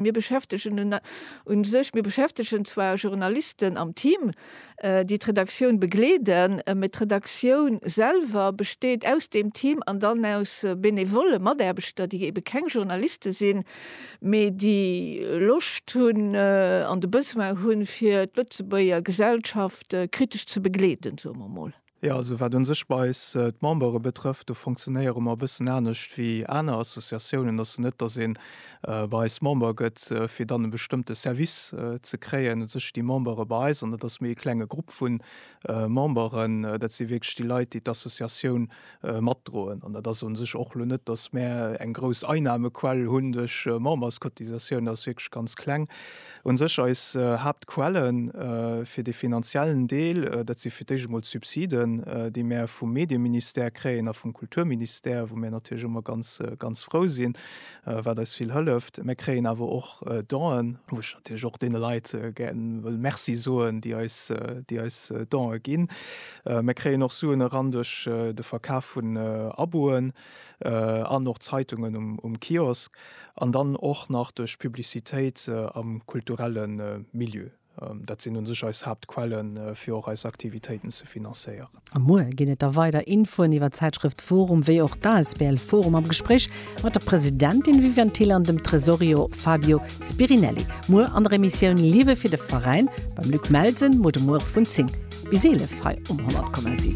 Mir beschäftegen u sech, mir beschäftegen zwar Journalisten am Team, déi d'Redaktioun begleeden, mä d'Redaktioun selwer besteet aus deem Team an dann aus benevole Mataarbechter, déi ebe keng Journaliste sinn, mee déi Loscht hunn an de Besoin hunn, fir d'Lëtzebuerger Gesellschaft kritesch ze begleeden, soe mer mol. Jo, also wat un sech bei eis d'Membere betrëfft, do fonctionnéiere mer e bëssen anescht wéi aner Associatiounen. Et ass jo net, datt ee bei eis Member gëtt, fir dann e bestëmmte Service ze kréien. U sech déi Membere bei eis, an dat ass méi e klenge Grupp vu Memberen, dat si wierklech déi Leit, déi d'Associatioun matdroen. An dat ass u sech och elo net, datt mär eng grouss Einnahmequell hunn duerch Memberscotisatioun, dat ass wierklech ganz kleng. U sech eis Haaptquelle fir dee finanziellen Deel, dat si fir d'éischt emol d'Subsiden, déi mär vum Medieministère kréien a vum Kulturministère, wou mär natierlech ëmmer ganz, ganz frou sinn, wat eis vill hëlleft. Mär kréien awer och Donen, wou ech natierlech och deene Leit gär wëll Merci soen, déi eis, déi eis Donë ginn. Mär kréien och Suen eran duerch de Verkaf vun Aboen an och Zeitungen um Kiosk. An dann och nach duerch Publicitéit am kulturelle Milieu. Dat sinn u sech eis Haaptquellen, fir och eis Aktivitéiten ze financéieren. A muer ginn et da weider Infoen iwwer d'Zäitschrëft Forum wéi och d'ASBL Forum am Gespréich mat der Presidentin Viviane Thill an dem Tresorio Fabio Spirinelli. Muer an der Emissioun Liewe fir de Veräin beim Luc Melsen, muer de Muere vun 10 bis 11 hei um 100,7.